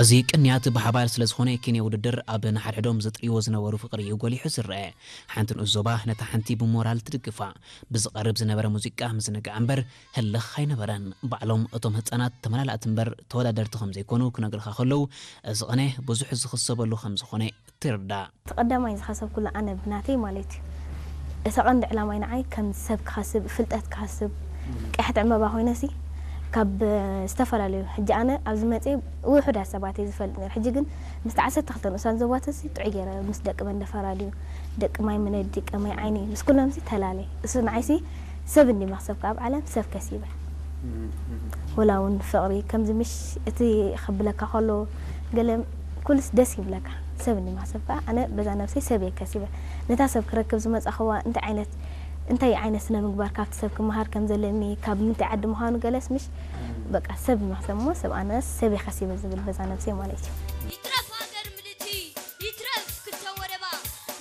እዚ ቅንያት ብሓባር ስለ ዝኾነ፣ ኪነ ውድድር ኣብ ንሓድሕዶም ዝጥርይዎ ዝነበሩ ፍቕሪ እዩ ጎሊሑ ዝረአ። ሓንቲ ንኡስ ዞባ ነታ ሓንቲ ብሞራል ትድግፋ። ብዝቐርብ ዝነበረ ሙዚቃ ምዝንጋዕ እምበር ህልኽ ኣይነበረን። ባዕሎም እቶም ህጻናት ተመላላእቲ እምበር ተወዳደርቲ ከም ዘይኮኑ ክነግርኻ ከለዉ፣ እዚ ቕነ ብዙሕ ዝኽሰበሉ ከም ዝኾነ ትርዳእ። እቲ ቀዳማይ ዝኸሰብኩሉ ኣነ ብናተይ ማለት እዩ። እቲ ቀንዲ ዕላማይ ንዓይ ከም ሰብ ክኸስብ፣ ፍልጠት ክኸስብ፣ ቀያሕቲ ዕምባባ ኮይነሲ ካብ ዝተፈላለዩ፣ ሕጂ ኣነ ኣብዚ መፅየ ውሑዳት ሰባት እየ ዝፈልጥ ነይረ። ሕጂ ግን ምስቲ ዓሰርተ ክልተ ንኡሳን ዞባትሲ ጥዑይ ገይረ ምስ ደቂ መንደፈራ ድዩ፣ ደቂ ማይ መነዲ፣ ቀመይ ዓይኒ፣ ምስ ኩሎምሲ ተላለ። እሱ ንዓይሲ ሰብ እንዲ መክሰብካ ኣብ ዓለም ሰብ ከሲበ። ወላ እውን ፍቕሪ ከምዚ ምሽ እቲ ከብለካ ከሎ ገለ ኩልስ ደስ ይብለካ። ሰብ እንዲ መክሰብካ ኣነ በዛ ነብሰይ ሰብ እየ ከሲበ። ነታ ሰብ ክረክብ ዝመጻኽዋ እንታይ ዓይነት እንታይ ዓይነት ስነ ምግባር ካብቲ ሰብ ክመሃር ከም ዘለኒ፣ ካብ ምንታይ ዓዲ ምዃኑ ገለስ ምሽ በቃ ሰብ መክሰብ እሞ ሰብ ኣነስ ሰብ እየ ከሲበ ዝብል በዛ ነብሰይ ማለት እዩ።